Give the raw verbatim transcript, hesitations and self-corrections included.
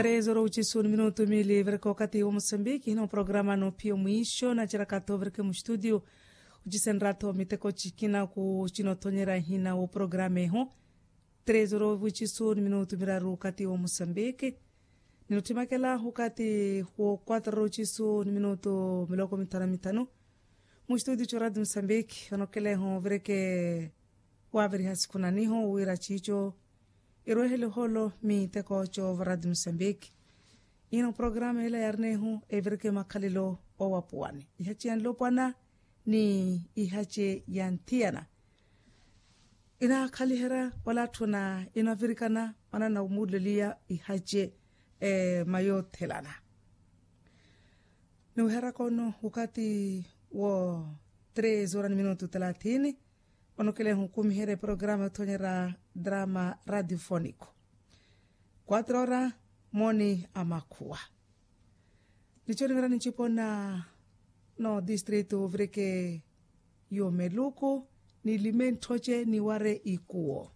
Três horas oxisu ni minutu mili vireke wakati wa mosambiki hina oprograma noophiya omwiixo naceraka-tho vireke muxitudio. Oxisenrya-tho miteko cikina ku cinothonyerya hina woprograma eho. Três horas oxisu ni minutu miraru wakati wa mosambiki. Ninottimakela wakati wo quatro horas oxisu ni minutu miloko mithanu mithanu. Muxitudio co radio mosambiki onokeleho vireke waviriha sikhunaniho wira cico irwehele oholo miteko co varadi mosambiki. Ino programa ila yarinehu evireke makhalelo owapuwani ihace ya nlopwana ni ihace ya nthiyana. Inakhaliherya wala atthuna inavirikana manana omuleliya ihace mayothelana. Niwiheraka ono wakati wo tres horas ni minutu thalathini. Onokeleha onkumiherya eprograma yothonyerya drama radiofonico. Quatro horas moni a makhuwa. Nico nivira nincipona no distrito vireke yo meluku ni limentthoce niware ikuwo.